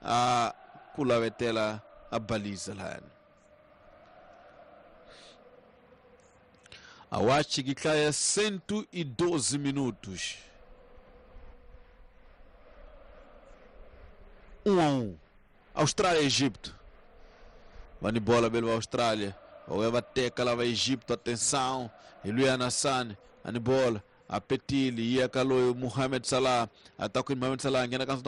a ku lavetela a baliza lahayani. A wachi kiklaya 112 minutos. 1-1. Austrália e Egipto. Vani bola belo Austrália. Oeva teka lava Egipto, atenção. Iluya Hassan, ani bola. Apetili ia kaloyo Mohamed Salah, ataku Mohamed Salah angena kanso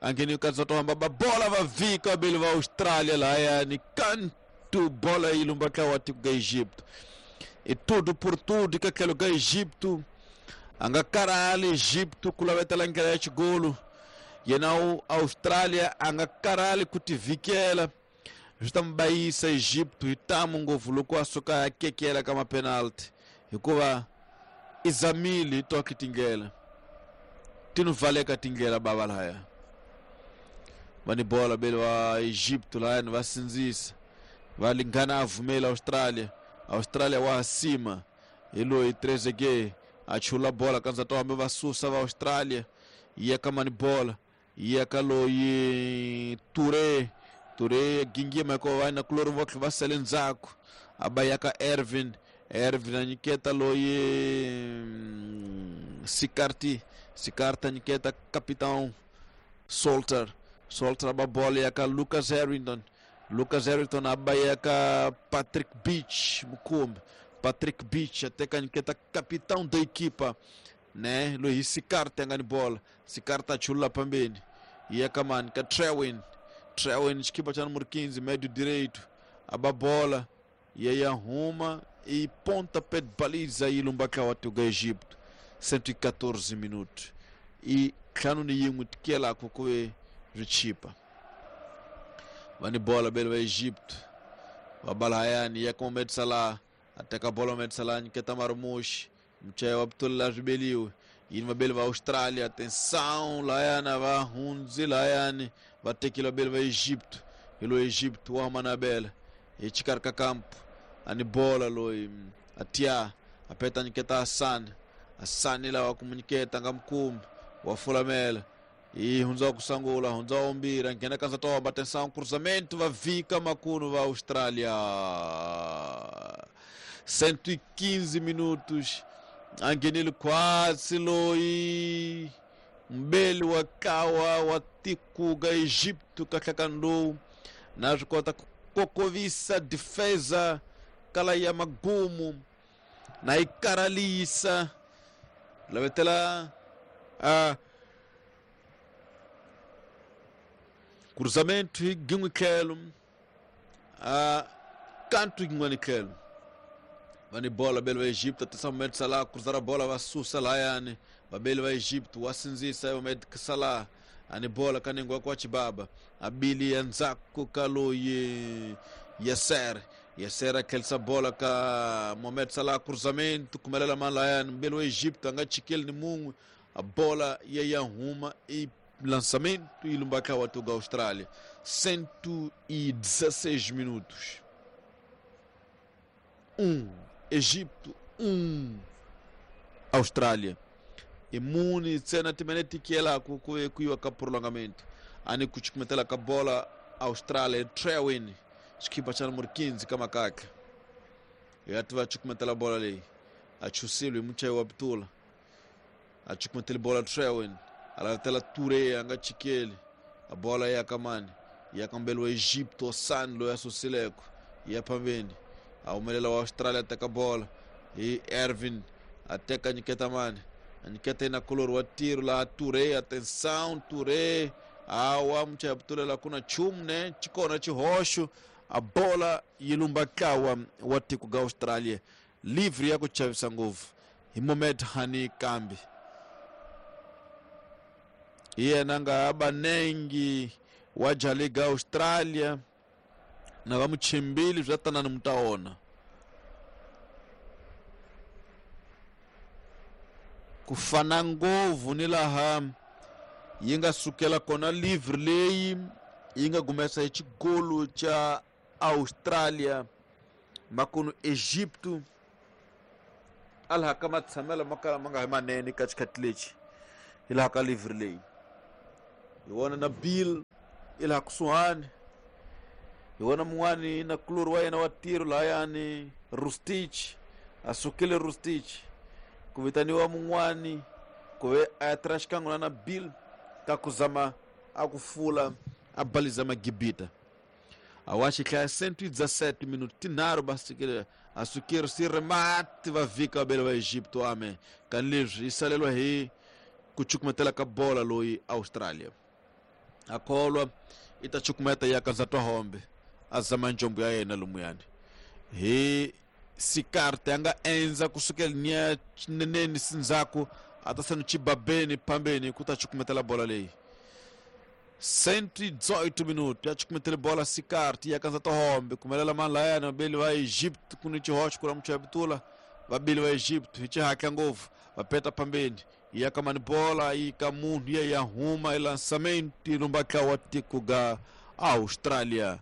angeni kanso tohamba bola va vika belo va Austrália lá yani canto bola ilumba ka wati ga Egipto. E tudo por tudo que aquele ga Egipto. Anga caralho Egipto kulavetela ngela golo. Yena Austrália anga caralho kutivikela. Justambaísa Egipto e tamu ngovu loko asuka kekela kama penalti. Hikuva izamili toki tingela. Tinu valeka tingela baba laya. Vani bola belo wa Egipto lá no vasinzisa. Valingana avumela Austrália. Austrália wa acima. Eloi Trezeguet achula bola kanza toa me vasusa va Austrália. Ia kamani bola. Ia kaloi Touré. Touré gingi mako vai na kloro vok vaselenzako. Abayaka Ervin. Ervin aniketa loi Sicarti. Sicarta aniketa capitão Salter. Salter ababola yaka Lucas Harrington. Lucas Harrington abayaka Patrick Beach Mukumbi. Patrick Beach até aniketa capitão da equipa, né? Luiz Sicarta angani bola. Sicarta chula pambeni. Yaka man ka Trewin. Trewin equipa cha número 15, médio direito. Ababola e aí arruma e pontapé de baliza e lumbaka watu ga Egipto. 114 minutos. E kanuni yimwe tikela kukwe richipa. Vani bola belo wa Egipto. Wabala hayani ya Mohamed Salah. Ateka bola Mohamed Salah niketa Marmoush. Mchaye wa Abdullah Ribeliu. Yini belo wa Austrália. Atenção layana va hunzi layani. Vatekila belo wa Egipto. Ilo Egipto wa manabela. E chikarka campo. Ani bola loi atia apeta niketa Hassan. Hassan ila wakomuniketa ngamkum wafulamela. E hunza kusangula hunza ombira ngena kanza toa atenção cruzamento va vika makunu va Austrália. 115 minutos. Angenilo quase loi mbele wakawa watikuga Egipto kakakando na kota kokovisa defesa kala ya magumu na ikaralisa lavetela a cruzamento ginwikelo a canto ginwanikelo vani bola belo wa Egipto atenção Mohamed Salah cruzar a bola va susa layani babelo wa Egipto wasinzisa Mohamed Salah ani bola kanengwa kwa chibaba abili yanzako kaloye Yasser Yasser akelsa bola ka Mohamed Salah cruzamento kumelela malayani mbelo wa Egipto anga chikel ni mungu a bola ya huma e lançamento e lumbaka watu ga Austrália. 116 minutos. 1 Egipto 1 Austrália. E muni tsena timeneti kiela kuiwa ka prolongamento. Ani kuchikumetela ka bola Austrália Trewin skipa cha número 15 kama kaka. Yatu achikumetela bola lei. Achusilo mucha wa Abdullah. Achikumetela bola Trewin. Alatela Touré anga chikeli. A bola ya kamani. Ya kambelo Egipto Sanlo ya Sosileko. Ya pambeni. Aumelela wa Austrália ateka bola. E Ervin ateka niketa mani. Aniketa ina kolor wa tiro la Touré, atenção Touré. Awa mcha Abdullah la kuna chumne chikona chihosho. A bola yilumbakawa watiku ga Austrália. Livre ya kuchavisa nguvu. Mohamed Hani Kambi. Iye nanga abanengi wajaliga Austrália. Na vamuchimbili zvatanani mutaona. Kufana ngovu ni laha yinga sukela kona livre leyi yinga gumesa xigolo cha Austrália makunu Egipto alha kama tshamela makala manga hi manene ka xikhathi lexi hi laha ka livre leyi hi vona na Bill I laha kusuhani hi wona mun'wani na kulori wa yena wa tiro lahayani Rustich, a sukile Rustich ku vitaniwa mun'wani ku ve a ya tirha xikan'we na Nabil ka ku zama a ku fula a baliza magibita. A wa xihlaya 117 minuto tinharhu basikile a sukile si remate va vhika vabele va Egipto ame kani leswi yi salelwa hi ku cukumetela ka bola loyi Australia a kholwa i ta cukumeta ya ka ndzatwa hombe a zama njombo ya yena lomuyani hi sikarte a nga endza kusukela nia xineneni sindzhaku a ta sani chibabeni phambeni ku ta cukumetela bola leyi. 118 minuto ya cukumetele bola sikarte ya kanza tohombe kumelela mani layani vabeli va Egypt ku ni xihoxo ku la muchaya pitula vabeli va Egypt hi xihatla ngopfu va peta phambeni ya ka mani bola yi ka munhu ya ya huma elansamenti lombatla wa tiko ga Australia.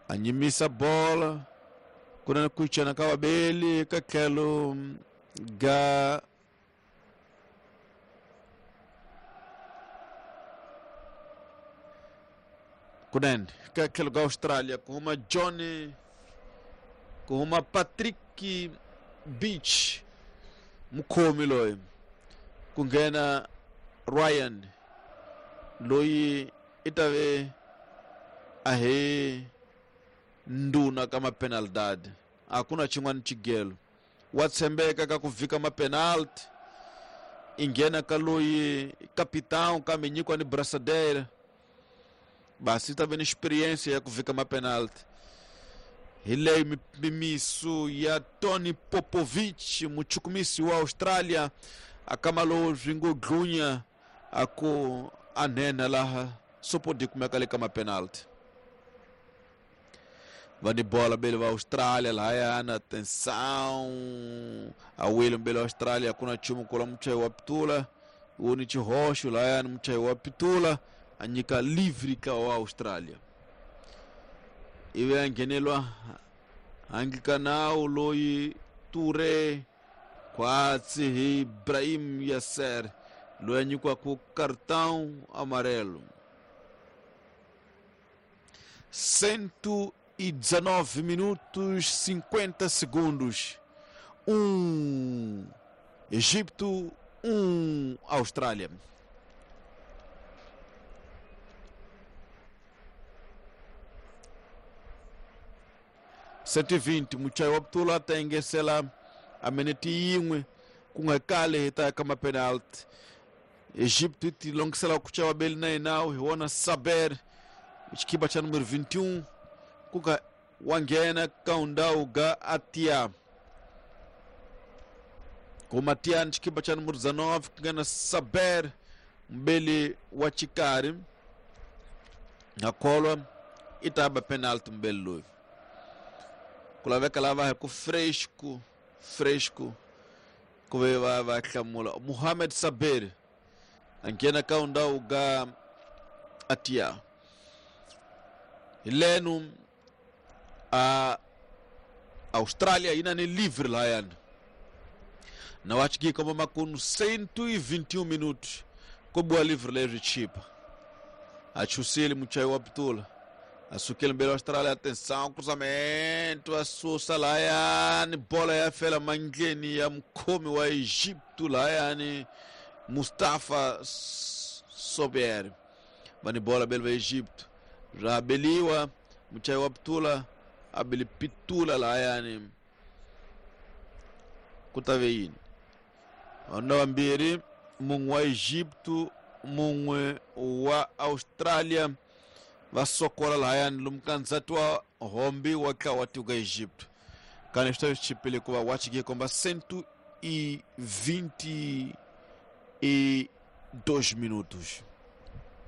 A nyimisa bola ku na ku chana ka vabeli ka tlhelo ga kunene ka tlhelo ga Australia ku huma Johnny, ku huma Patrick Beach mukhomi loyi ku nghena Ryan loyi i ta ve a he ndhuna ka mapenalidad a ku na xin'wana xigelo wa tshembeka ka ku vhika mapenalti i nghena ka loyi capitão kambe nyikiwa ni brasadera basi ta ve ni experience ya ku vhika mapenalti. Hi leyi mimisu ya Tony Popovich muchukumisi wa Australia a kama lowu swi ngo dlunya a ku a nhenha laha sopodi kumeka le ka mapenalti. Va ni bola bele va Australia lahayana atenção a wile mbele wa Australia ku na nchumu kula muchayi wa pitula wu ni xihoxo lahayani muchayi wa pitula a nyika livre ka wa Australia ivi a nghenelwa handle ka nawu loyi Ture khwatsi hi Ibrahim Yasser loyi a nyikiwaka cartão amarelo. 119 minutos 50 segundos. 1 Egipto, 1 Austrália. 120 muchayi wa Putula ta engesela a minete yin'we ku nga kale hi ta ya ka mapenalti. Egipto yi ti longisela ku chava beli na yena hi wona Saber xikipa xa numero 21 ku ka wa nghena ka undhawu ga Atia kuma Tiani xikipa xa numero 19 ku nghena Saber mbeli wa xikarhi na kholwa i ta ba penalty mbeli loyi ku laveka lava hi ku fresco fresco ku ve va va hlamula Mohamed Saber a nghena ka undhawu ga Atia hi leno a Austrália yi na ni livre lahayani na wa xigika va makunu 121 minutos ko biwa livre leri chipa a chusile muchayi wa pitula a sukile mbele wa Australia atenção cruzamento a susa lahayani bola ya fela mandleni ya mukhomi wa Egipto lahayani Mustafa Sober va ni bola bele va Egipto ra beliwa muchayi wa pitula a beli pitula lahayani ku ta ve yini vanhu vambirhi mun'we wa Egipto mun'we wa Australia va sokola lahayani lomu ka ndzhati wa hombi wa tlawa wa tiko ka Egipto kani swi ta swi chipile ku va wa chike komba 122 minutos.